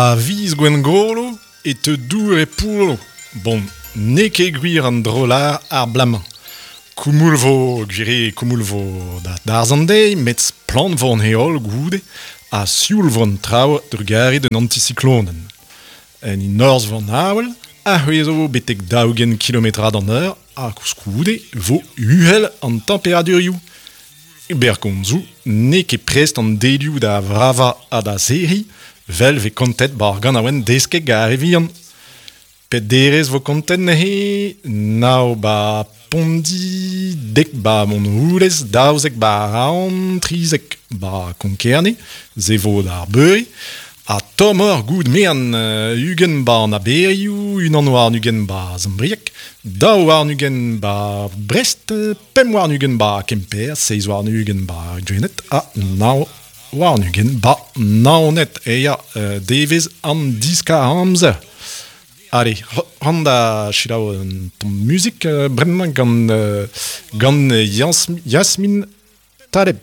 A viz Gwengolo e teu dour e poullo. Bon, n'eo ket gwir an dro-lâr ar bloaz-mañ. Koumoul 'vo, gwir eo koumoul 'vo da darzh an deiz, met splann 'vo an heol goude ha sioul 'vo an traoù trugarez d'un antisiklonenn. En he norzh 'vo an avel, a c'hwezho betek 40 kilometrad an eur ha koulskoude 'vo uhel an temperadurioù. E berr komzoù, n'eo ket prest an delioù da vravañ ha da serriñ, 'vel 'vez kontet 'ba ar ganaouenn desket gant ar re vihan. Pet derez 'vo kontet neuze? Nav 'ba Pondi, dek 'ba Montroulez, 12 'ba Roazhon, 13 'ba Konk-Kerne, se 'vo d'ar beure. Ha tommoc'h goût merenn 20 'ba an aberioù, unan warn-ugent 'ba Sant-Brieg, 22 'ba Brest, 25 'ba Kemper, 27 'ba Gwened ha 29 'ba Naoned. E ya, devezh an diskar-amzer. Allez, ran da selaou un tamm muzik bremañ gant gant Yasmine Taleb.